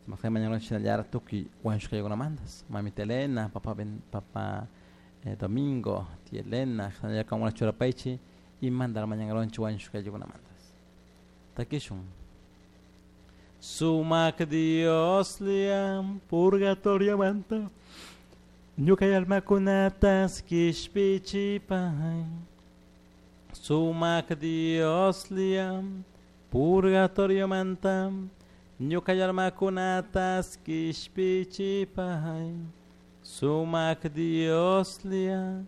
Mañana tuki mandas. Mamita Elena, papá ben, papá Domingo, tía Elena, como churapaichi y mandar mañana mandas. Takishun. Sumak Dios liam purgatorio manta. Ñuka almakunatas kishpichipay. Sumak Dios liam purgatorio manta. Ñuka almakunatas kishpichipay. Sumak Dios lia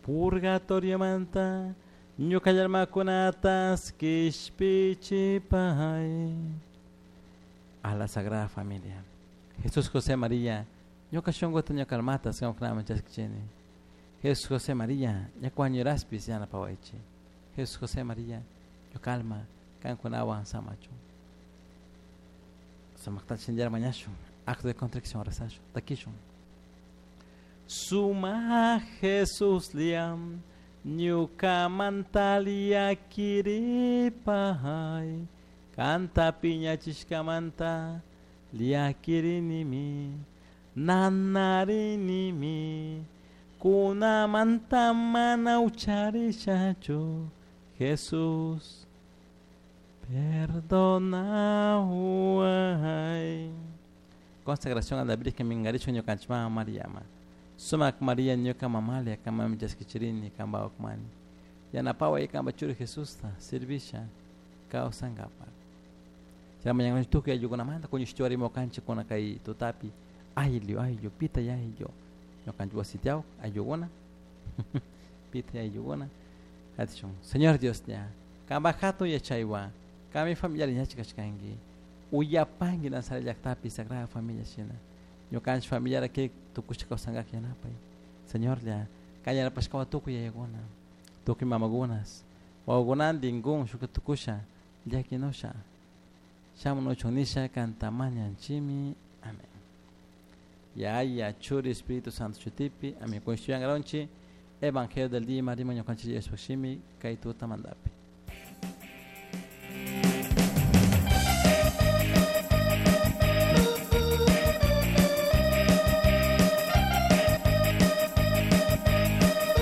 purgatorio manta. Ñuka almakunatas kishpichipay. A la Sagrada Familia. Jesús, José, María, ñuka shunquta ñuka almata qamkunaman chaskichini. Jesús, José, María, ñuka wañuraspis yanapawaychik. Jesús, José, María, ñuka alma qamkunawan samachun. Samaqta chinllar mañashun. Acto de contrición rezashun. Takishun. Suma Jesús liam ñuka mantalia kiripay. Kanta piñachishkamanta liakirinimi nanarinimi kunamanta mana ucharishachu. Jesús, perdonaway. Consagración a la Virgen Mingaricho ñukanchik Mariama. Sumak María ñuka mamalia kamami chaskichirini kamba ukmani. Yanapaway kamba churi Jesusta servisha kawsankapak. Chayman mañana tukuy ayllukunamanta kuñushtiwarimo kanchik kuna kay tutapi ayllu ayllu pita ayllu ñukanchik wasitiaw ayllukuna pita ayllukuna atishun. Señor Dios ña kamba hatun yachaywan kami familiar ñachik kashkanki uyapanki Nazaret llaqtapi Sagrada Familia shina ñukanchik familiar kay tukushka kawsankak yanapay. Señor lla kay yanapashkawan tukuy yayakuna tukuy mamakunas wawakunantin kun shuka tukusha llakinusha shamunuchun nisha kantamañanchimi. Amén. Yaya, Churi, Espíritu Santo chutipi. Amén. Kunshuyangaronchi Evangelio del día marima ñukanchik Diospaq shimi kay tutamantapi.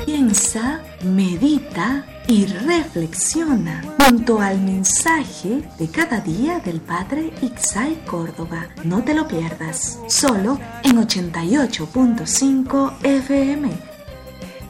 Piensa, medita y reflexiona junto al mensaje de cada día del Padre Ixay Córdoba. No te lo pierdas, solo en 88.5 FM.